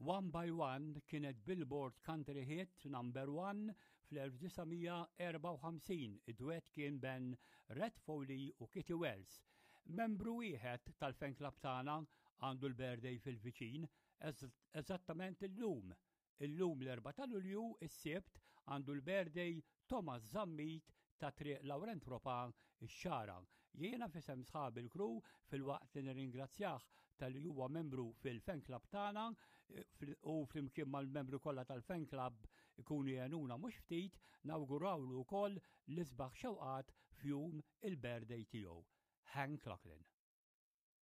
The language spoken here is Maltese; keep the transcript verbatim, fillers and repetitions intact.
One by One kienet Billboard Country Hit number one fl-elf disa' mija erbgħa u ħamsin. Id-duet kien bejn Red Foley u Kitty Wells. Membru wieħed tal-fan club tagħna għandu l-birthday fil-viċin, eżattament illum. Illum l-erbgħa ta' Lulju, is-Sibt, għandu l-birthday Thomas Zammit ta' Triq Laurent Ropa, ix-Xagħra. Jiena f'isem sħab il-crew, filwaqt li nirringrazzjah talli huwa membru fil-fan club tagħna u flimkien mal-membru kollha tal-fan club ikunu jgħinuna mhux ftit, nawgurawlu wkoll l-isbaħ xewqat f'jum il-birthday tiegħu. Hank Locklin.